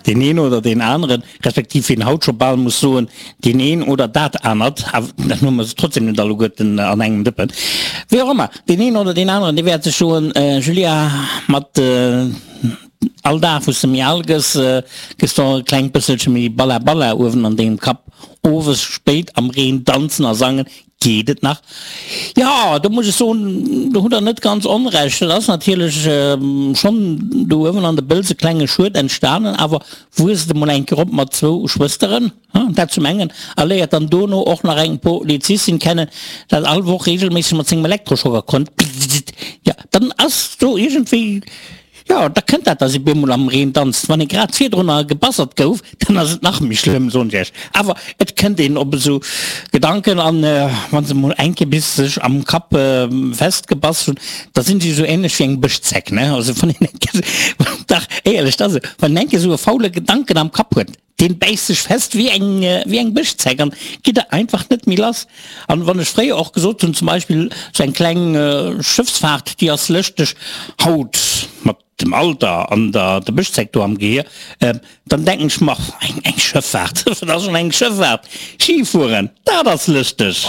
Deen een oder deen aneren, respektiv wéi een haut scho bal muss soen, deen een oder dat anert, awer dat hu mer se trotzdem net alleguerten an engem Dëppen, wéi och ëmmer, deen een oder deen aneren, dee wäert sech soen, Julia, mat all Dag wou s de méi al gëss, gëss de och e klengt bësselche méi balla balla uewen an dengem Kapp. Owes spéit am Reen danzen a sangen, Geet et nach? Jo, do muss ech soen, do hutt Der net ganz Onrecht. Et ass natierlech schonn do uewen an de Bëlz e klenge Schued entstanen, awer wuesst emol eng Kéier op mat zwou Schwësteren, dat zum engen, a léiert dann dono och nach eng Polizistin kennen, dat all Woch regelméisseg mat sengem Elektroschocker konnt, jo, dann ass do iergendwéi. Jo, da kënnt dat, dass ee bemol am Reen danzt. Wann ee grad virdrunner gebassert gouf, dann ass et nach méi schlëmm, soen ech iech. Awer et kënnt een op esou Gedanken an wa se mol eng Kéier bis sech am Kapp festgebass hunn, da sinn si esou ähnlech wéi eng Bëschzeck, ne? Also wann een eng Kéier, dach éierlech, dat ass esou, wann een eng Kéier esou e faule Gedanken am Kapp huet, Deen bäisst sech fest wéi eng, wéi eng Bëschzeck an gitt der einfach net méi lass. An wann ech fréier och gesot hunn, zum Beispill sou eng kleng Schëffsfahrt, déi ass lëschteg, haut mat dem Alter an der der Bëschzeck do am Gehier, dann denken ech mer, eng, eng Schëfffahrt, wat ass schonn eng Schëfffahrt? Ski fueren, dat ass lëschteg.